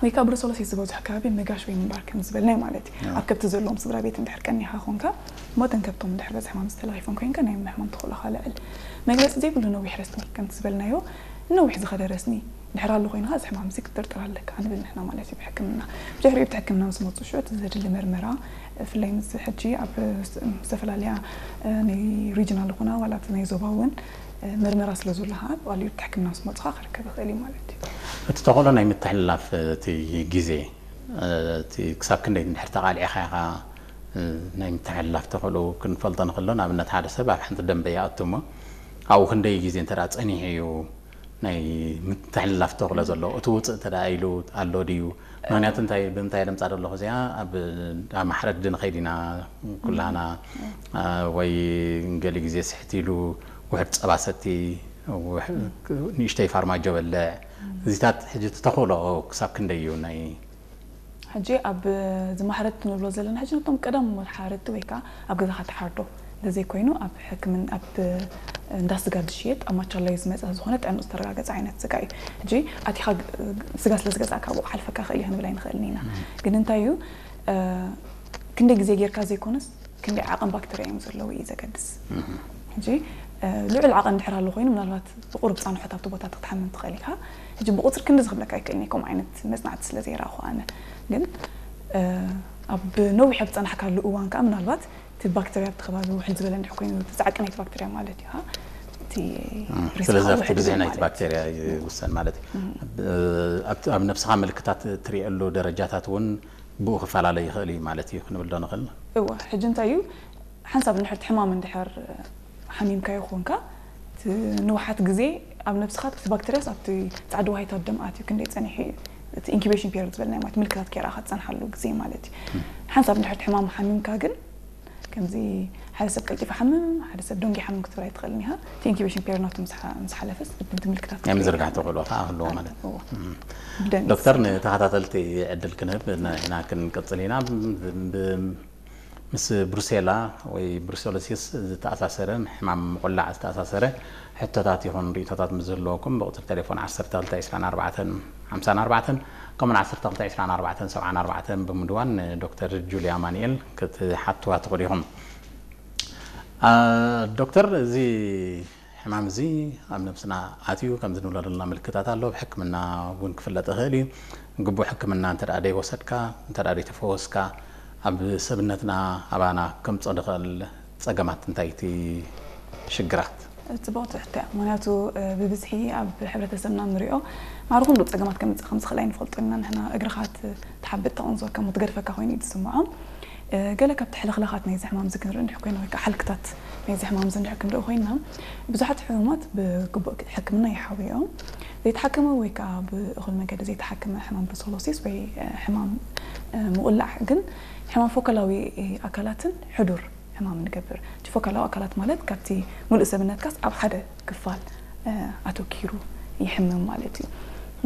ወይ ከዓ ብሩሰሎሲስ ዝበዝሖ ከባቢ ምጋሽ ወይ ምንባር ከም ዝበልናይ ማለት እዩ። ኣብ ከብቲ ዘለዎም ስድራ ቤት እንድሕር ቀኒኻ ኾንካ፣ እሞ እተን ከብቶም እንድሕር በዚ ሕማም ዝተለኺፈን ኮይንካ ናይ ምሕማም ተኽእሎኻ ልዕል። መግለፂ ዘይብሉ ነዊሕ ረስኒ ከምቲ ዝበልናዮ፣ ነዊሕ ዝኸደ ረስኒ ድሕር ኣሎ ኮይንካ እዚ ሕማም እዚ ክትጥርጥር ኣለካ ንብል ንሕና ማለት እዩ ብሕክምና። ብድሕሪኡ ብቲ ሕክምና ምስ መፁ ሽዑ እቲ ዘድሊ መርመራ፣ ብፍላይ ምስ ሕጂ ኣብ ዝተፈላለያ ናይ ሪጅናል ዝኾና ዋላ ናይ ዞባ እውን መርመራ ስለ ዘሎ ከዓ ብቐሊሉ ብቲ ሕክምና ምስ መፁኻ ክርከብ ይኽእል እዩ ማለት እዩ። እቲ ተኽእሎ ናይ ምትሕልላፍ እቲ ግዜ እቲ ክሳብ ክንደይ እንድሕር ተቓሊዕኻ ኢኻ ናይ ምትሕልላፍ ተኽእሎ ክንፈልጦ ንኽእሎ። ንኣብነት ሓደ ሰብ ኣብ ሓንቲ ደንበ ይኣቱ እሞ ኣብኡ ክንደይ ግዜ እንተ ጸኒሑ እዩ ናይ ምትሕልላፍ ተኽእሎ ዘሎ? እቲ ውፅእ እንተ ኢሉ ኣሎ ድዩ? ምክንያቱ እንታይ ብምንታይ ለምፃ ዘለኹ እዚኣ ኣብ ማሕረዲ ንኸይድ ኢና ኩላና ወይ ገሊ ግዜ ስሕት ኢሉ ውሕድ ፀባ ሰቲ ንእሽተይ ፋርማጆ በልዕ እዚታት ሕጂ ተኽእሎ ክሳብ ክንደይ እዩ ናይ ሕጂ ኣብ ዝማሕረድቲ ንብሎ ዘለና ሕጂ ነቶም ቀደም ሓረድቲ ወይ ከዓ ኣብ ገዛኻ ትሓርዶ እንተዘይኮይኑ ኣብ ሕክምን ኣብ እንዳ ስጋ ዝሽየጥ ኣብ ማቻላይ ዝመፀ ዝኾነ ጥዕንኡ ዝተረጋገፀ ዓይነት ስጋ እዩ። ሕጂ ኣቲኻ ስጋ ስለ ዝገዛእካ ብኡ ክሓልፈካ ክእል እዩ ክንብል ኣይንኽእልን ኢና። ግን እንታይ እዩ ክንደይ ግዜ ጌርካ ዘይኮነስ ክንደይ ዓቐን ባክተርያ እዮም ዘለዉ እዩ ዘገድስ። ሕጂ ልዑል ዓቐን ድሕር ኣሎ ኮይኑ ምናልባት ብቁሩብ ፃንሖት ኣብቲ ቦታ ክትሓምም ትኽእል ኢኻ። ሕጂ ብቁፅሪ ክንዲ ዝኽብለካ ኣይክእልን እዩ ከምኡ ዓይነት መፅናዕቲ ስለ ዘይረኣኹ ኣነ። ግን ኣብ ነዊሕ ኣብ ዝፀናሕካሉ እዋን ከዓ ምናልባት እቲ ባክተርያ ኣብቲ ከባቢ ውሕድ ዝበለ እንድሕር ኮይኑ እቲ ፃዕቂ ናይቲ ባክተርያ ማለት እዩ እቲ ስለዚ ኣብቲ ብዝሒ ናይቲ ባክተርያ ይውሰን ማለት እዩ። ኣብ ነብስኻ ምልክታት ትሪእሉ ደረጃታት እውን ብኡ ክፈላለ ይኽእል እዩ ማለት እዩ ክንብል ዶ ንኽእል? እወ ሕጂ እንታይ እዩ ሓንሳብ እንድሕር እቲ ሕማም እንድሕር ሓሚምካዮ ኮንካ ንውሓት ግዜ ኣብ ነብስኻ እቲ ባክተርያስ ኣብቲ ፃዕዲ ዋሂታት ደም ኣትዩ ክንደይ ፀኒሑ እዩ እቲ ኢንኩቤሽን ፔሪድ ዝበልናዮ ማለት ምልክታት ከይረኣኻ ትፀንሓሉ ግዜ ማለት እዩ። ሓንሳብ እንድሕር እቲ ሕማም ሓሚምካ ግን ከምዚ ሓደ ሰብ ቀልጢፉ ሓምም ሓደ ሰብ ደንጉ ሓምም ክትብል ኣይትኽእልን ኢኻ። እቲ ኢንኩቤሽን ፔሪድ ናቱ ምስ ሓለፈስ እቲ ምልክታት ናይ ምዝርጋሕ ተኽእሎ ከዓ ህልዎ ማለት እዩ። ዶክተር ንተኸታተልቲ ዕድል ክንህብ ኢና ክንቅፅል ኢና። ምስ ብሩሴላ ወይ ብሩሰሎሲስ ዝተኣሳሰረ ሕማም ምቑላዕ ዝተኣሳሰረ ሕቶታት ይኹን ርእቶታት ምስ ዝህልወኩም ብቁፅሪ ቴሌፎን ዓሰርተ ክልተ ዕስራን ኣርባዕተን ሓምሳን ኣርባዕተን ከምኡን ዓሰርተ ክልተ ዕስራን ኣርባዕተን ሰብዓን ኣርባዕተን ብምድዋል ንዶክተር ጁልያ ኣማኑኤል ክትሓትዋ ትኽእሉ ኢኹም። ዶክተር እዚ ሕማም እዚ ኣብ ነብስና ኣትዩ ከምዚ ንብሎ ዘለና ምልክታት ኣሎ። ብሕክምና እውን ክፍለጥ ይኽእል እዩ። ግቡእ ሕክምና እንተ ደኣ ደይወሰድካ እንተ ደኣ ደይተፈወስካ ኣብ ሰብነትና ኣባና ከምጾ ዝኽእል ጸገማት እንታይ እቲ ሽግራት? ጽቡቕቲ ሕቶ እያ። ምክንያቱ ብብዝሒ ኣብ ሕብረተሰብና ንሪኦ ማዕረ ኩሉ ጸገማት ከምጽእ ከም ዝኽእል ኣይንፈልጦ ኢና ንሕና። እግርኻ ትሓብጥ ተቐንዝወካ እሞ ትገድፈካ ኮይኑ እዩ ዝስምዖም። ገለ ካብቲ ሕልኽላኻት ናይዚ ሕማም እዚ ክንርኢ እንድሕር ኮይና ወይ ከዓ ሓልክታት ናይዚ ሕማም እዚ እንድሕር ክንርኢ ኮይና ብዙሓት ሕሙማት ብግቡእ ሕክምና ይሓውዮም። ዘይተሓከመ ወይ ከዓ ብእኹል መንገዲ ዘይተሓከመ ሕማም ብሩሰሎሲስ ወይ ሕማም ምቑላዕ ግን ሕማም ፎከላዊ ኣካላትን ሕዱር ሕማም ንገብር። እቲ ፎከላዊ ኣካላት ማለት ካብቲ ሙሉእ ሰብነትካስ ኣብ ሓደ ክፋል ኣተኪሩ ይሕምም ማለት እዩ።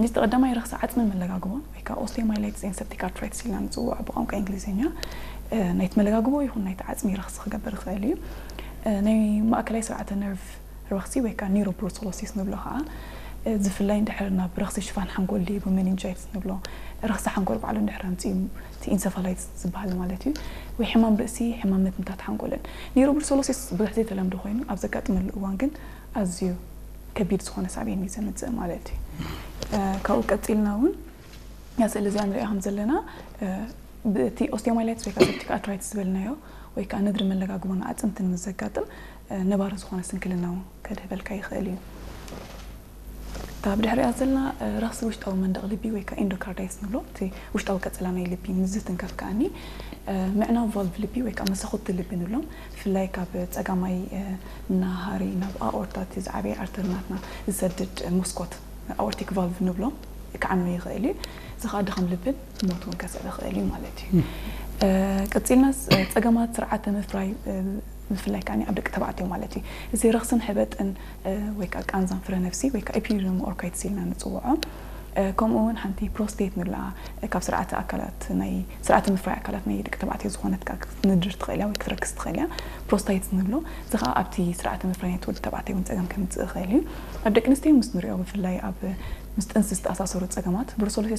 ምስቲ ቀዳማይ ረኽሲ ዓፅምን መለጋግቦን ወይ ከዓ ኦስቲዮማይላይትስ ኤን ሰፕቲክ ኣርትራይትስ ኢልና ንፅውዖ ብቋንቋ እንግሊዝኛ ናይቲ መለጋግቦ ይኹን ናይቲ ዓፅሚ ረኽሲ ክገብር ይኽእል እዩ። ናይ ማእከላይ ስርዓተ ነርቭ ረኽሲ ወይ ከዓ ኒሮብሩሰሎሲስ ንብሎ ከዓ ዝፍላይ እንድሕር ናብ ረኽሲ ሽፋን ሓንጎል ድዩ ሜኒንጃይትስ ንብሎ ረኽሲ ሓንጎል ባዕሉ እንድሕር ኣምፅኡ እቲ ኢንሰፋላይትስ ዝበሃል ማለት እዩ ወይ ሕማም ርእሲ ሕማም ምትንታት ሓንጎልን ኒሮብሩሰሎሲስ ብዙሕ ዘይተለምዶ ኮይኑ ኣብ ዘጋጥመሉ እዋን ግን ኣዝዩ ከቢድ ዝኾነ ሳዕቤን እዩ ዘምፅእ ማለት እዩ። ካብኡ ቀፂልና እውን እዛ ስእሊ እዚኣ ንሪኣ ከም ዘለና እቲ ኦስቲዮማይላይትስ ወይ ከዓ ሰፕቲክ ኣርትራይትስ ዝበልናዮ ወይ ከዓ ነድሪ መለጋግቦን ኣዕፅምትን ምስ ዘጋጥም ነባሪ ዝኾነ ስንክልና እውን ከድህበልካ ይኽእል እዩ። እታ ብድሕሪኣ ዘላ ረኽሲ ውሽጣዊ መንደቕ ልቢ ወይ ከዓ ኢንዶካርዳይትስ ንብሎ እቲ ውሽጣዊ ቀፅላ ናይ ልቢ ምስ ዝትንከፍ ከዓኒ ምዕናው ቫልቭ ልቢ ወይ ከዓ መሰኹቲ ልቢ ንብሎም ብፍላይ ካብ ፀጋማይ ናሃሪ ናብ ኣኦርታ እቲ ዝዓበየ ኣርተሪ ናትና ዝሰድድ መስኮት ኣኦርቲክ ቫልቭ ንብሎ ክዓኑ ይኽእል እዩ። እዚ ከዓ ድኻም ልብን ሞት እውን ከስዕብ ይኽእል እዩ ማለት እዩ። ቀፂልና ፀገማት ስርዓተ ምፍራይ ብፍላይ ከዓ ኣብ ደቂ ተባዕትዮ ማለት እዩ። እዚ ረኽስን ሕበጥን ወይ ከዓ ቃንዛን ፍረ ነፍሲ ወይ ከዓ ኢፒዲዲሞ ኦርካይትስ ኢልና ንፅውዖ ከምኡ እውን ሓንቲ ፕሮስቴት ንብላ ካብ ስርዓተ ኣካላት ናይ ስርዓተ ምፍራይ ኣካላት ናይ ደቂ ተባዕትዮ ዝኾነት ከዓ ክትንድር ትኽእል እያ ወይ ክትረክስ ትኽእል እያ። ፕሮስታይትስ ንብሎ እዚ ከዓ ኣብቲ ስርዓተ ምፍራይ ናይቲ ወዲ ተባዕታይ እውን ፀገም ከምፅእ ይኽእል እዩ። ኣብ ደቂ ኣንስትዮ ምስ ንሪኦ ብፍላይ ኣብ ምስ ጥንሲ ዝተኣሳሰሩ ፀገማት ብሩሰሎሲስ